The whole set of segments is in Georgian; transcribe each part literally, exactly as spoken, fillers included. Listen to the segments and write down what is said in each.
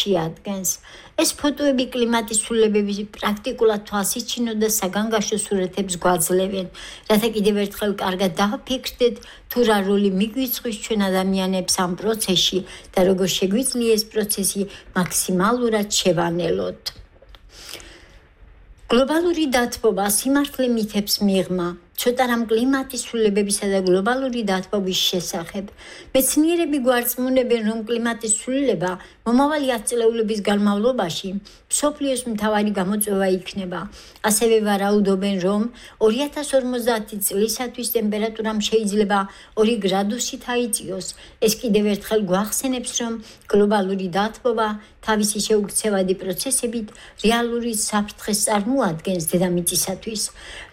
შეადგენს. ეს ფოტოები კლიმატის ცვლილებების პრაქტიკულად თვალსაჩინო და საგანგაშო სურათებს გვაძლევენ, რათა კიდევ ერთხელ კარგად დავფიქრდეთ, თუ რა როლი მიგვიწვის ჩვენ ადამიანებს ამ პროცესში და როგორ შეგვიძლია ეს პროცესი მაქსიმალურად შევანელოთ. გლობალური დათბობა სიმართლე მითებს მიღმა, ცოტა რამ კლიმატის ცვლილებებისა და გლობალური დათბობის შესახებ. მეცნიერები გვარწმუნებენ, რომ კლიმატის ცვლილება მომავალი ათწლეულების განმავლობაში მსოფლიოს მთავარი გამოწვევა იქნება. ასევე ვარაუდობენ, რომ ორი ათას ორმოცდაათი წლისათვის ტემპერატურამ შეიძლება ორი გრადუსით აიწიოს. ეს კიდევ ერთხელ გვახსენებს, რომ გლობალური დათბობა თავისი შეუქცევადი პროცესებით რეალური საფრთხეს წარმოადგენს დედამიწისათვის.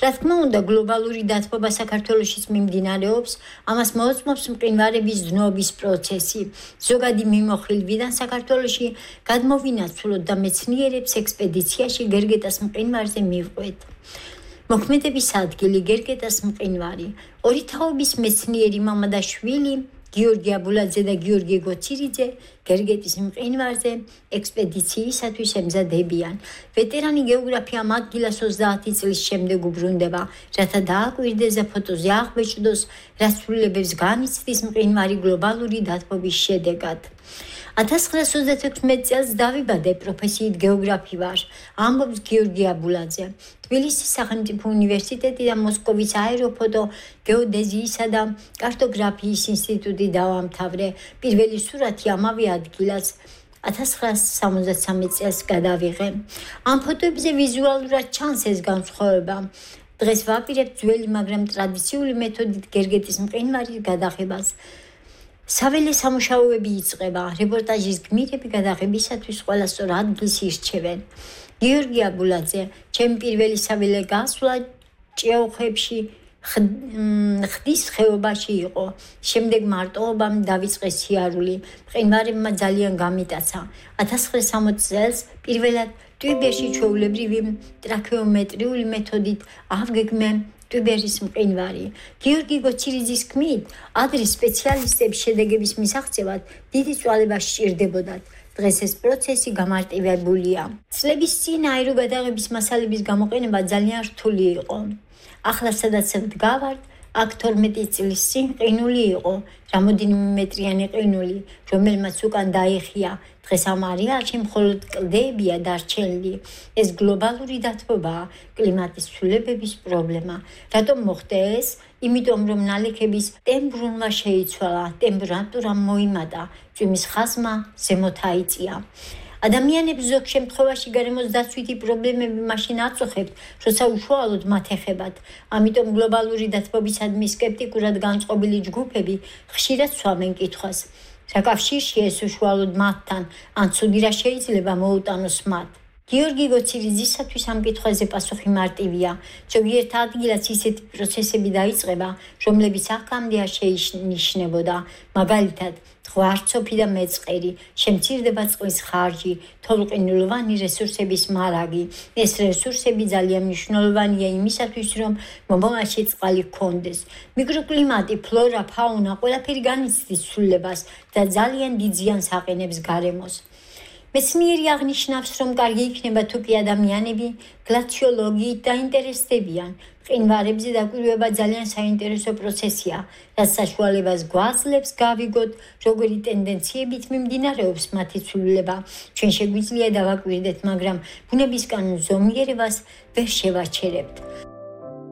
რა თქმა უნდა, გლობალური დათბობა საქართველოშიც მიმდინარეობს, ამას მოწმობს მყინვარების დნობის პროცესი. ზოგადი მიმოხილვიდან საქართველოში გადმოვინაცვლოთ და მეცნიერებს ექსპედიციაში გერგეტას მყინვარზე მივყვეთ. მოქმედების ადგილი გერგეტას მყინვარი. ორი თაობის მეცნიერი მამა და შვილი გიორგი აბულაძე და გიორგი გოცირიძე გერგეტის მყინვარზე ექსპედიციისათვის ემზადებიან. ვეტერანი გეოგრაფი ამ ადგილას ოცდაათი წლის შემდეგ უბრუნდება, რათა დააკვირდეს და ფოტოზე აღბეჭდოს, რა ცვლილებებს განიცდის მყინვარი გლობალური დათბობის შედეგად. ათას ცხრაას ოცდათექვსმეტ წელს დავიბადე, პროფესიით გეოგრაფი ვარ, ამბობს გიორგი აბულაძე. თბილისის სახელმწიფო უნივერსიტეტი და მოსკოვის აეროფოტო გეოდეზიისა და კარტოგრაფიის ინსტიტუტი დავამთავრე. პირველი სურათი ამავე ადგილას ათას ცხრაას სამოცდასამი წელს გადავიღე. ამ ფოტოებზე ვიზუალურად ჩანს ეს განსხვავება. დღეს ვაპირებთ ძველი, მაგრამ ტრადიციული მეთოდით გერგეტის მყინვარის გადაღებას. საველე სამუშაოები იწყება, რეპორტაჟის გმირები გადაღებისათვის ყველა სწორ ადგილს ირჩევენ. გიორგი აბულაძე, ჩემი პირველი საველე გასვლა ჭიაუხებში ხდის ხეობაში იყო. შემდეგ მარტოობამ დავიწყე სიარული. მყინვარებმა ძალიან გამიტაცა. ათას ცხრაას სამოცდ წელს პირველად ტვიბერში ჩვეულებრივი ტრაქეომეტრიული მეთოდით ავგეგმე ტვიბერის მყინვარი. გიორგი გოცირიძის თქმით, ადრე სპეციალისტებს შედეგების მისაღწევად დიდი წვალება სჭირდებოდათ. დღეს ეს პროცესი გამარტივებულია. წლების წინ აეროგადაღების მასალების გამოყენება ძალიან რთული იყო. ახლა სადაც ვდგავართ, აქ თორმეტი წლის წინ ყინული იყო, რამოდენიმე მეტრიანი ყინული, რომელმაც უკან დაიხია. დღეს ამ არეალში მხოლოდ კლდეებია დარჩენილი. ეს გლობალური დათბობაა, კლიმატის ცვლილებების პრობლემა. რატომ მოხდა ეს? იმიტომ რომ ნალექების ტემპერატურა შეიცვალა, ტემპერატურა მოიმატა, წვიმის ხაზმა ზემოთ აიწია. ადამიანებს ზოგ შემთხვევაში გარემოს დაცვითი პრობლემები მაშინ აწუხებთ, როცა უშუალოდ მათ ეხებათ. ამიტომ გლობალური დათბობისადმი სკეპტიკურად განწყობილი ჯგუფები ხშირად სვამენ კითხვას, რა კავშირშია ეს უშუალოდ მათთან, ან ცუდი რა შეიძლება მოუტანოს მათ. გიორგი გოცირიძისათვის ამ კითხვაზე პასუხი მარტივია. ზოგიერთ ადგილას ისეთი პროცესები დაიწყება, რომლებიც აქამდე არ შეინიშნებოდა. მაგალითად, ღვარცოფი და მეწყერი, შემცირდება წყლის ხარჯი, თოვლყინულოვანი რესურსების მარაგი. ეს რესურსები ძალიან მნიშვნელოვანია იმისათვის, რომ მომავალში წყალი გქონდეს. მიკროკლიმატი, ფლორა, ფაუნა, ყველაფერი განიცდის ცვლილებას და ძალიან დიდ ზიანს აყენებს გარემოს. მეცნიერი აღნიშნავს, რომ კარგი იქნება თუ კი ადამიანები გლაციოლოგიით დაინტერესდებიან. მყინვარებზე დაკვირვება ძალიან საინტერესო პროცესია, რაც საშუალებას გვაძლევს გავიგოთ, როგორი ტენდენციებით მიმდინარეობს მათი ცვლილება. ჩვენ შეგვიძლია დავაკვირდეთ, მაგრამ ბუნებისგან ზომიერებას ვერ შევაჩერებთ.